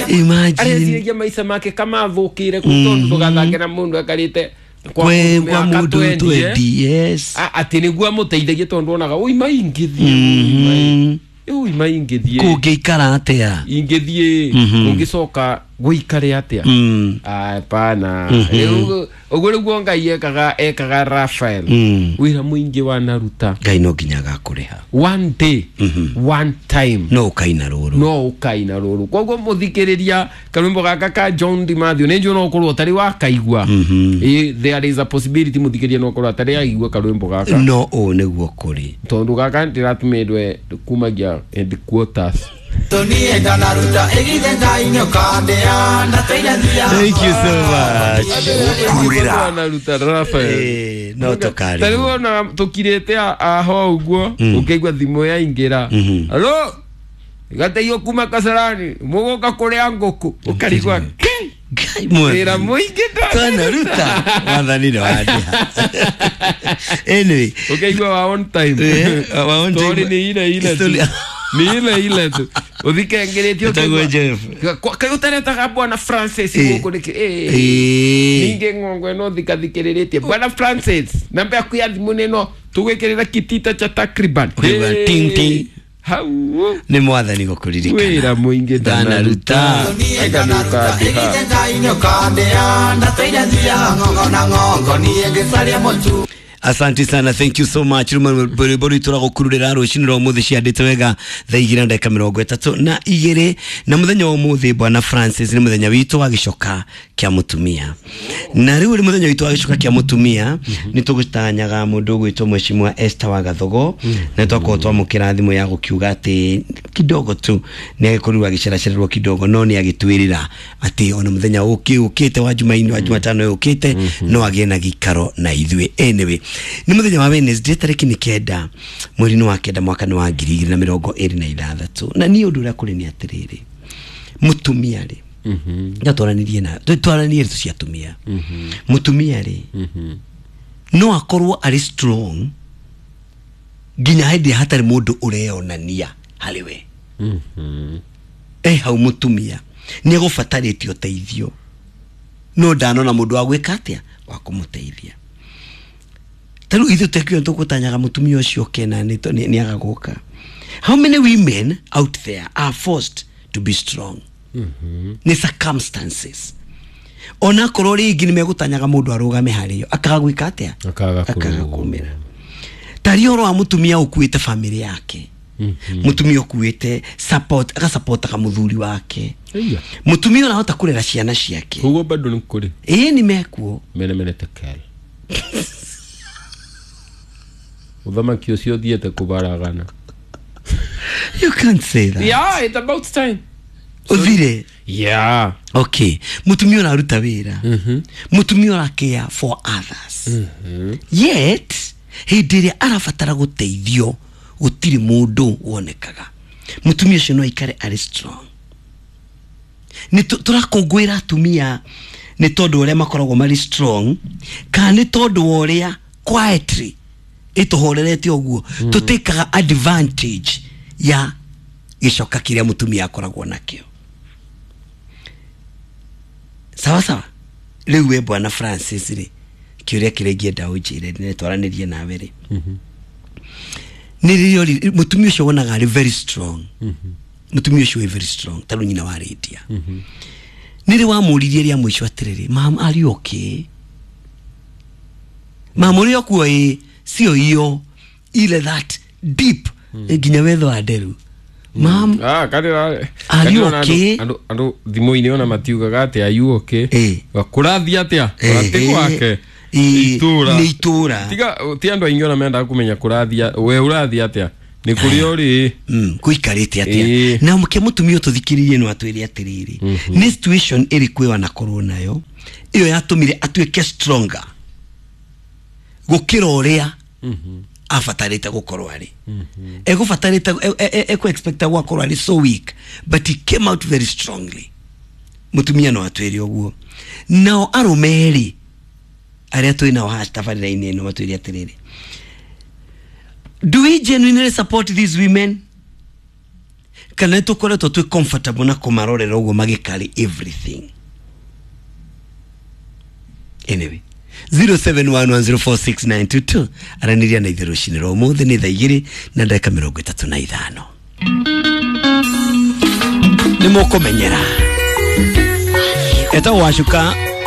Imagine. Areciragia maica make kamathũkĩire kũ tondũ ndũgathange na mũndũ ekarĩte kwa Kwe mũndũ kwa mĩaka mũndũ 20, 20, yes. Atĩ nĩguo amũteithagie tondũ onaga ũima ingĩthiĩ ũima ingĩthiĩ Kũngĩikara atĩa? Ingĩthiĩ ũngĩcoka gũikare atĩa? Hapana. Rĩu ũguo nĩguo Ngai ekaga Raphael. Wĩra mũingĩ wanaruta. Ngai no nginya agakũrĩha. One day, one time. No ũkaina rũrũ. No ũkaina rũrũ. Koguo mũthikĩrĩria karwĩmbo gaka ka John DiMathew nĩ njũĩ no ũkorwo ũtarĩ wakaigua. There is a possibility mũthikĩrĩria no ũkorwo atarĩ aigua karwĩmbo gaka. No ũũ nĩguo kũrĩ. Tondũ gaka ndĩratũmĩrwe kumagia headquarters. Thank you so much. Kurira. Wanaruta Raphael. No tũkarĩ. Ta rĩu ona tũkirĩte aho ũguo ũkĩigua thimũ yaingĩra. Hello? Gateithio kuma Kasarani mũgũka kũrĩa ngũkũ ũkarigwa Ngai mwathani. Wĩra mũingĩ Twanaruta. Mwathani nĩ wandĩha. Anyway. Ũkaigua wa on time. Wa on time. Story nĩ ile ile tu. Story- Nĩ ile ile tu. Ũthikengeretie Ĩtagwo ũkaigua- Jeff. Kaĩ ũtaretaga bwana Francis gũkũ nĩkĩ? Ningĩ ng'ongo ĩno thikathikĩrĩrĩtie bwana Francis namba yaku ya thimũ nĩ ĩno tũgwĩkĩrĩra kitita cha takriban. Ũkaigua ting, ting. Hau Nĩ mwathani gũkũririkana. Wĩra mũingĩ Ndanaruta. Anga nĩ ũkandĩha. Asante sana, thank you so much. Rwĩmbo rwitũ rwa gũkururĩra rũcinĩ rwa ũmũthĩ ciandĩte wega thaa igĩrĩ na ndagĩka mĩrongo ĩtatũ na igĩrĩ. Na mũthenya wa ũmũthĩ bwana Francis nĩ mũthenya witũ wa gĩcoka kĩa mũtumia. Na rĩu nĩ mũthenya witũ wa gĩcoka kĩa mũtumia nĩ tũgũtanyaga mũndũ ũgwĩtwo Mheshimiwa Esther wa Gathogo na twakorwo twamũkĩra thimũ ya gũkiuga atĩ kidogo tu nĩ agĩkorirwo agĩceracererwo kidogo no nĩ agĩtwĩrĩra atĩ ona mũthenya ũkĩte wa Jumaine wa Jumatano ũkĩte no agĩe na gĩikaro na ithuĩ. Anyway, nĩ mũthenya wa Wednesday tarĩki nĩ 9 mweri-inĩ wa 9 mwaka nĩ wa ngiri igĩrĩ na mĩrongo ĩrĩ na ithathatũ. Na niĩ ũndũ ũrĩa kũrĩ nĩ atĩrĩrĩ, mũtumia rĩ, na twaranĩrie na twaranĩrie ndeto cia atumia. Mũtumia rĩ, no akorwo arĩ strong nginya hĩndĩ ĩrĩa hatarĩ mũndũ ũreyonania harĩ we. Hau mũtumia nĩ egũbatarĩte ũteithio no ndanona mũndũ wa gwĩka atĩa wa kũmũteithia. Ta rĩu ithuĩ tekio tũgũtanyaga mũtumia ũcio kena nĩ aga gũka. How many women out there are forced to be strong? Nĩ circumstances. Ona korwo rĩngĩ nĩ megũtanyaga mũndũ arũgame harĩo akaga gwĩka atĩa? Akaga Akaga kũrũgama. kũmĩra. Tarĩ ũhoro wa mũtumia ũkuĩte famĩlĩ yake. Mũtumia ũkuĩte support, agasupportaga mũthuri wake. Mũtumia ũrahota kũrera ciana ciake. Koguo bado nĩ kũrĩ. Ĩĩ nĩ mekuo. Mene mene tekel. Ũthamaki ũcio ũthiĩte kũbaragana. You can't say that. Yeah, it's about time. Ũthire. Yeah. Okay. Mũtumia ũraruta wĩra. Mũtumia ũra care for others. Yet hĩndĩ ĩrĩa arabatara gũteithio gũtirĩ mũndũ wonekaga. Mũtumia ũcio no aikare arĩ strong. Nĩ tũrakũngũĩra atumia nĩ tondũ ũrĩa makoragwo marĩ strong kana nĩ tondũ wa ũrĩa quietly ĩtũhorerete ũguo tũtĩkaga advantage ya gĩcoka kĩrĩa mũtumia akoragwo nakĩo. Sawa sawa. Rĩu we bwana Francis rĩ, kĩũria kĩrĩa ingĩenda ũnjĩre nĩ twaranĩrie nawe rĩ, nĩ rĩrĩa mũtumia ũcio wonaga arĩ very strong. Mũtumia ũcio wĩ very strong ta rĩu nyina wa Lydia. Nĩ rĩ wamũririe rĩa mũico atĩrĩrĩ, mam, are you okay? Mam, ũrĩ okuo? Ĩ sio hiyo ile that deep nginya wetho wa nderu. Mam, are you okay? Andũ thimũ-inĩ ona matiugaga atĩ are you okay? Kũrathiĩ atĩa? Ũratĩ gwake? Itũra. Nĩ itũra. Tiga ti andũ aingĩ ona mendaga kũmenya kũrathiĩ, we ũrathiĩ atĩa? Nĩ kũrĩa ũrĩ. Kũikarĩte atĩa? Na mũke mũtumia ũtũthikĩrĩrie no atwĩre atĩrĩrĩ, nĩ situation ĩrĩkũ ĩyo anakorwo nayo ĩyo yatũmire atuĩke stronger gũkĩra ũrĩa abatarĩte gũkorwo arĩ. Egũbatarĩte, ekũ-expecta gwakorwo arĩ so weak, but he came out very strongly. Mũtumia no atwĩre ũguo. Nao arũme erĩ arĩa twĩ nao haha tabarĩra-inĩ ĩno matwĩre atĩrĩrĩ, do we genuinely support these women? Kana nĩ tũkoretwo twĩ comfortable na kũmarorera ũguo magĩkarĩ everything. Anyway, 0711046922 aranĩria na ithuĩ rũcinĩ rwa ũmũthĩ. Nĩ thaa 2:35. Nĩ mũkũmenyera etagwo Wacuka.